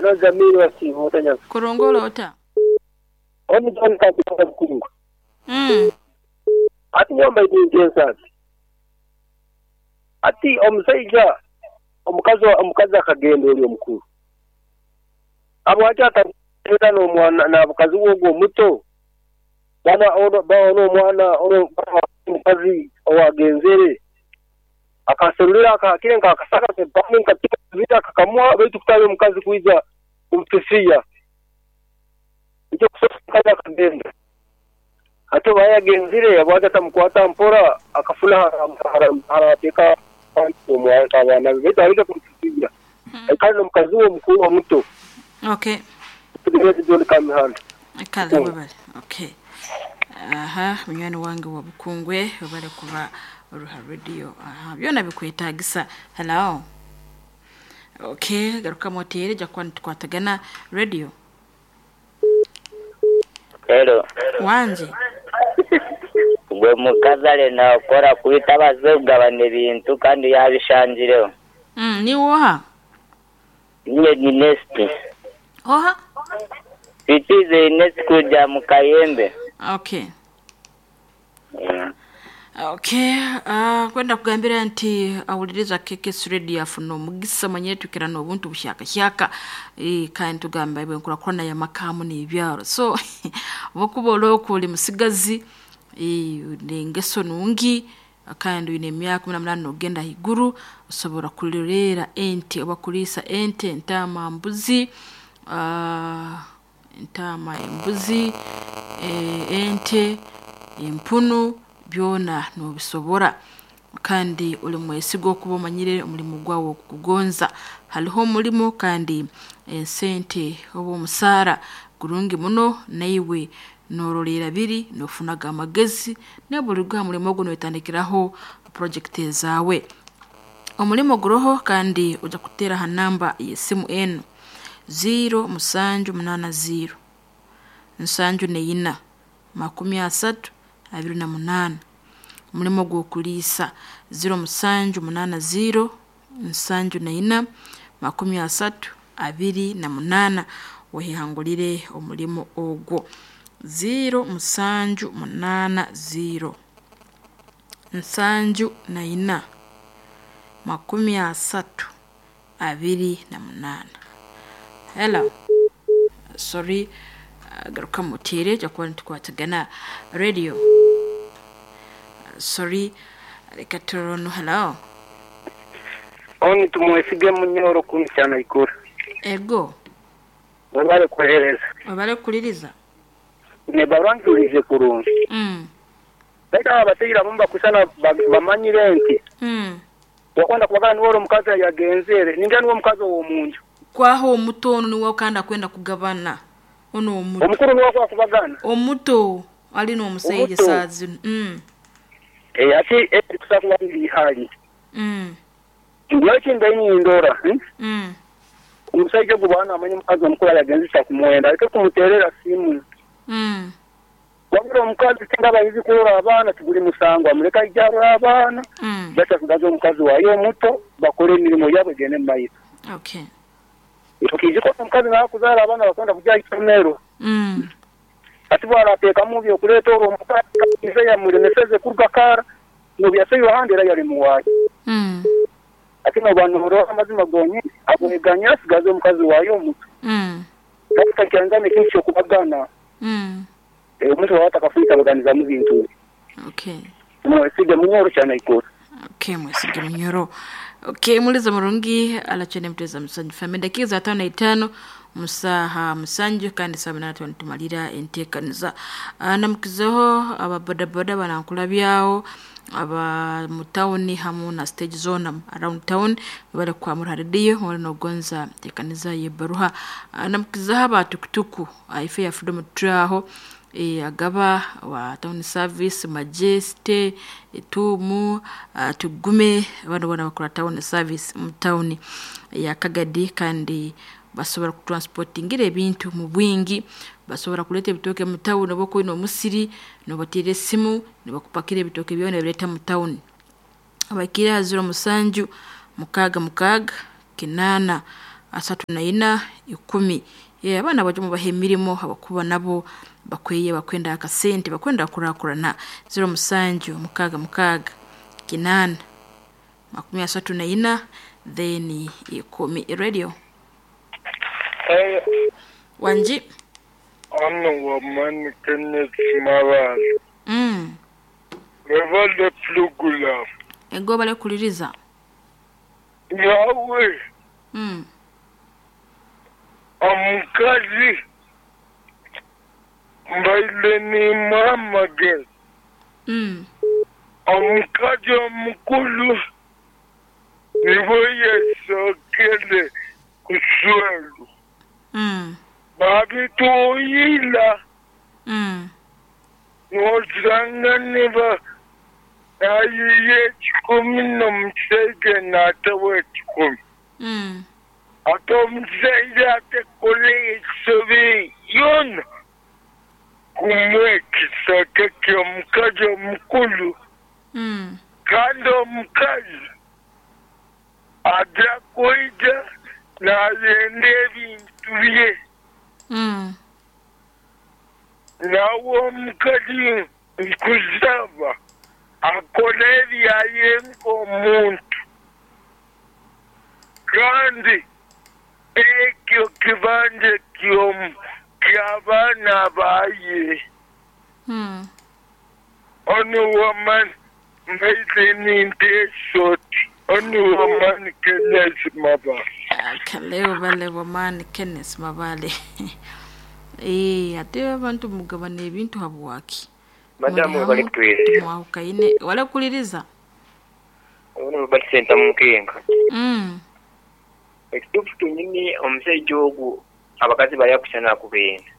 Hello Jamil wasiiba ota nyabo? Kurungi ori ota? Oni John Kampanga Bukungu. Hati nyowe mbaire nintensa nti, hati omusaija omukazi omukazi akagenda ori omukuru, habwaki atagenda n'omwana na mukazi we ogwo omuto? Bana ono ba ono omwana ono omukazi owagenzere akaserulira akakire nk'akasaka kepande nka akakamuha baitu kutali omukazi kwija kumufisiya. Nikyo kusoka omukazi akagenda. Hati oba yagenzire habwaki atamukwata mpora akafuna harateeka abaana be baitu aleke kumufisiya. Aikale n'omukazi we omukuru omuto. Okay. John Kamihanda. Kale webale. Okay. Aha, munywani wange wa Bukungwe webale kuba oruha radio. Aha, byona bikwetagisa. Hello. Okay, garuka oteere ojja kuba nitukwatagana radio. Hello. Wanje. Gwe mukazi arenda kukora kubi tabaase kugabana ebintu kandi yaabishangireho. Niiwe oha? Niinye ni Nest. Oha? Twikirize Nest kuruga mu Kayembe. Okay. Okay, kwenda kugambira nti awuliriza KKS Radio afuna omugisa manyire tukira n'obuntu bushyakashyaka kandi tugamba ibwe nkurakurana y'amaka n'ebyaro so obukuba orooku ori musigazi n'engeso nungi kandi oine emyaka 18 n'ogenda ahaiguru osobora kuroreera ente oba kuriisa ente, entaama, mbuzi, entaama, embuzi, ente, empunu byona nobisobora kandi ori mwesigwa okuba omanyire omurimo gwawe okugugonza. Hariho omurimo kandi esente oba omusaara gurungi muno naiwe noororeera biri noofunaga amagezi n'obu aha murimo ogu nootandikiraho purojekiti ezaawe. Omurimo guroho kandi ojja kuteera aha namba y'esimu enu 0780 74 30 28. Omurimo gw'okuriisa 0780 74 30 28 oyehangurire omurimo ogwo. 0780 74 30 28. Hello. Sorry, garuka muteere ojja kuba nitukwatagana radio. Sorry, reka turore hello. Oni tumwesige Munyoro kumi cyane ikura. Ego. Webale kuhereza. Webale kukuliriza. Ne barwanjurize kurungi. Baitu aba bateire abamu bakusana bamanyire nti. Wakwenda kubagana niwe ori omukazi yagenzere, ninga niwe omukazi ow'omunju. Kwaho omuto onu niwe kandi akwenda kugabana. Ono omuto. Omukuru niwe akwakubagana. Omuto ali n'omusaija saa zinu. Ati tusa kuba ihali. Nyowe kimbe nindora. Omusaija ogu bwana amanye omukazi omukuru yagenzesa kumwenda, aleke kumuteerera simu. Wabura omukazi singa abayizi kurora abaana tiguri musango, amureka aije arore abaana. Baitu asigaze omukazi waayo omuto bakore emirimo yaabo egende omu maiso. Okay. Okiijuka omukazi naakuzaara abaana bakwenda kujya aha isomero. Ati bwarateekamu byokureeta orwo omukazi yamulemeseze kuruga kara nobu ahandi era yari muwaayo. Ati noba noorora amazima gonyini agweganya asigaze omukazi waayo omuto. Takyanzana ekintu ky'okubagana. Omuntu waaba atakafuita abaganizamu bintu. Okay. Mwesige Munyoro cyane ikora. Okay, mwesige Munyoro. Okay, muliza murungi alachene mteza musanju fame dakika za 55 musaha musanju kandi saa munana tumalira enteekaniza. Namukizeho aba bodaboda banankula byawo aba mu town hamu na stage zone around town bari kwa muri radio wali nogonza tekaniza yebaruha. Namukizeho aba tukutuku ife ya Freedom Traho agaba wa town service Majeste Etumu Tugume abantu bona bakora town service mu town ya Kagadi kandi basobora kutransportingira ebintu mu bwingi, basobora kuleta ebitooke mu town oba okwine omusiri nobateera esimu nibakupakira ebitooke byona nibabireeta mu town. Abaikire aha 07 66 8 34 10. Abaana baje mubaha emirimo abakuba nabo bakweye bakwenda akasente bakwenda kurakurana 07 66 8 34 then 10. Radio Hey, wanji ano wamani Kenneth Mabala. Revale Plugula. Ego bale kuliriza. Yawe. Omukazi mbaile ni muhamagara. Omukazi omukulu niwe yasokele kuswelu. Babituyila. Nosanga niba ayiye 10 n'omushaija n'atawa 10. Ate omushaija atakole ensobi yoona kumwe ekisaka ky'omukazi omukulu. Kandi omukazi aja kwija nayenda ebintu bye. Nawe omukazi nkusaba akole ebyaye nk'omuntu. Kandi ekyo kibanja ky'abaana baye. Onu woman mbaite ninte shoti. Onu woman Kenneth Mabale. Kaleo bale woman Kenneth Mabale. Ate abantu mugabana ebintu habwaki. Madamu bali kutwirira. Mwahukaine wale kuliriza. Ono bali senta mukenga. Ekitufu tunyini omusajja ogu abakazi bali akushana kubenda.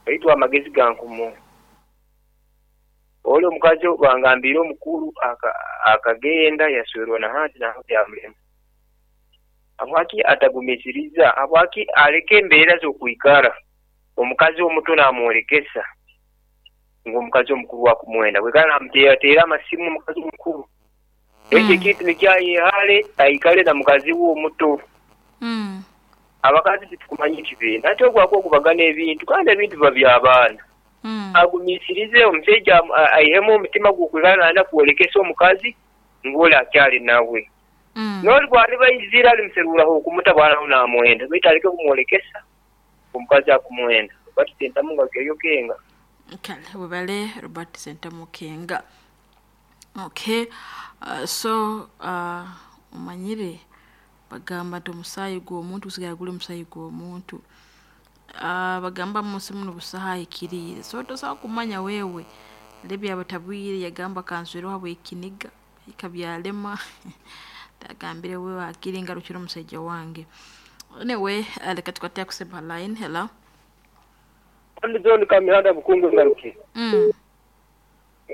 Baitwa amagezi gankumu. Oli omukazi bangambira omukulu akagenda yaswerwa na hati na yamulema. Habwaki atagumisiriza, habwaki aleke embeera z'okwikara. Omukazi omuto namworekesa ng'omukazi omukulu wakumwenda. Bwekana namuteerateera amasimu omukazi omukulu. Ekyo ekintu nikyayehale aikale na mukazi we omuto. Abakazi titukumanya ekibiina ate ogwako okubagana ebintu kandi ebintu biba by'abaana. Agumisirize omushaija aihemu omutima gw'okwikara nayenda kworekesa omukazi ng'oli akyali nawe. N'oli bwali baizira alimuseruraho okumutabwanaho namwenda baitu aleke kumworekesa omukazi akumwenda. Robert Sentamu nga keyo kenga. Kale webale Robert Sentamu kenga. Okay. So umanyire bagamba nti omusaayi gw'omuntu gusigala guli omusaayi gw'omuntu. Bagamba munsi muno busaha ikiriire. So tosobola kumanya wewe lebya batabwire yagamba kanswero habw'ekiniga ikabyalema agambire wewe akiri ngarukira omusajja wange. Anyway, leka tukwate kuseba line. Hello. Ndi kamihanda bukungu ngaruki.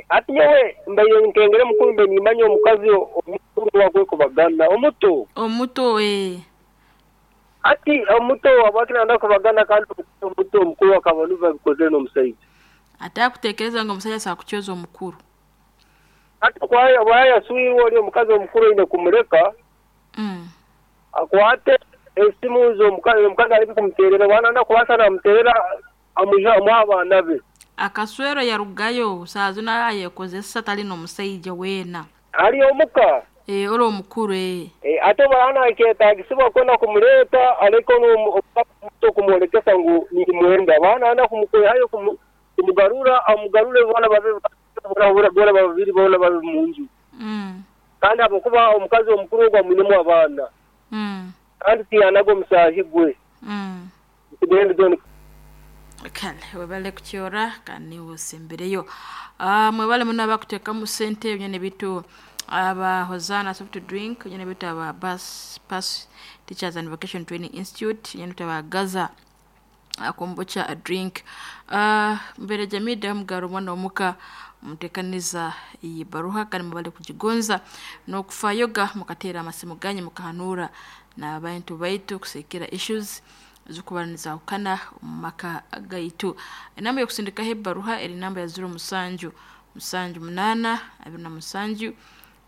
Ati nyewe mbaye nkengere mukuru mbe nimanye omukazi omukuru wakwe kubagana omuto. Omuto Ati omuto wabakina ndakubagana kandi omuto omukuru akabona bikoze n'omusajja. Ate kutekereza ngo omusajja sakuchoza omukuru. Ati kwaya bwaya suirwe oli omukazi omukuru ine kumureka. Akwate esimu zo omukazi ali kumuterera bwana ndakubasa namuterera amuja abaana be. Akaswero yarugayo saazuna ayekozesa tali n'omusajja weena. Ali omuka. Oli omukuru Ate bwana akyetagisibwa kwenda kumuleta aleko n'omuto kumwolekesa ngu nimwenda. Bwana anda kumukoyayo kumugarura amugarure bwana babe bora babiri bona babe munju. Kandi abokuba omukazi omukuru gwa mwinemu abaana. Kandi tiyanago musahi gwe. Kale webale kukyora kandi usembereyo. Mwebale muno abakuteekamu sente byone bitu aba Hosanna soft drink byone bitu aba bus pass Teachers and Vocation Training Institute byone bitu aba Gaza akombocha a drink. Mbere jamida mugaro mwana omuka mutekaniza iyi baruha kandi mubale kujigonza n'okufayoga mukateera amasimu ganyu mukahanura n'abantu baitu kusekera issues zukubaniriza ukana maka gaitu. Enamba yokusindikaho ebaruha eri namba ya 07 7 8 27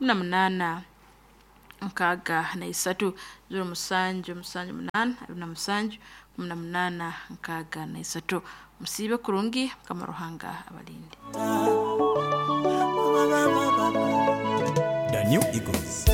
8 63 07 7 8 27 18 63. Musiibe kurungi, Mukama Ruhanga abalinde. The New Eagles.